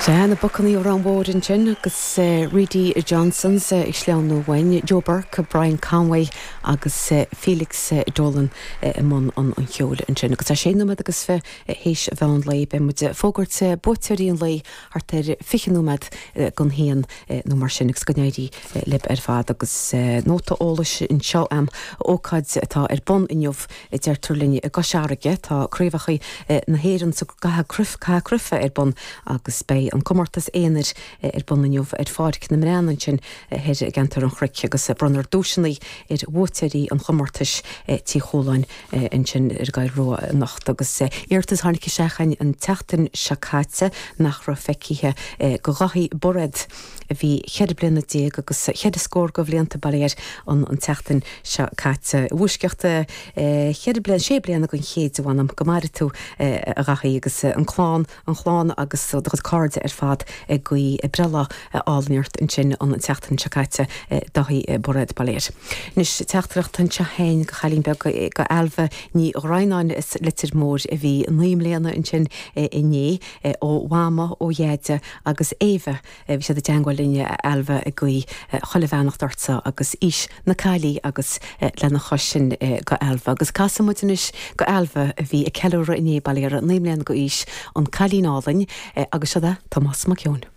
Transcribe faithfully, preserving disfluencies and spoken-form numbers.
Sea, na Buccaneers ar an bhord ansin agus Reedy Johnsons ag sleamhnú uainn, Joe Burke, Brian Conway agus Felix Dolan i mbun an an cheoil ansin. Agus tá sé nóiméad agus fiche théis mheán lae beidh muid ag fógairt buaiteoirí an lae thart ar fiche nóiméad don haon nó mar sin agus go n-éirí libh ar fad agus nóta eolais anseo am ócáid atá ar bun inniu a deirtear linn i gCois Fharraige tá craobhacha na hÉireann sa gcaitheamh cruife ar bun agus beidh an comórtas aonair ar bun inniu ar Pháirc na mBreann ansin thoir i gceantar an Chnoic agus bronnfar duaiseanna ar bhuaiteoirí an chomórtais Tí Chualáin ansin ar an gCoill Rua anocht agus iarratas tháinig isteach an tseachtain seo caite nach raibh feicthe go Dhaithí Bairéad a bhí ceithre bliana déag agus ceithre scór de bhlianta bail air an an tseachtain seo caite. Bhuaisceacht ceithre bliana sé bliana don chéad bhanam go maire tú a Dhaithí agus an clann an chlann agus do chuid cairde ar fad ag guí breithlá álainn ort ansin an tseachtain seo caite Daithí Bairéad bail air. Anois teachtaireacht anseo féin go chailín beag go Ailbhe Ní Dhroighneáin is Leitir Móir a bhí naoi mbliana ansin inné ó Mhama ó Dheaide agus Éabha bhí siad i dteagmháil linn Ailbhe ag guí chuile bheannacht ortsa agus aois na caillí agus lena chois sin go Ailbhe. Agus casfaidh muid anois go Ailbhe a bhí ag ceiliúradh inné bail air naoi mbliana d'aois an cailín álainn agus seo é Tomás Mac Eoin.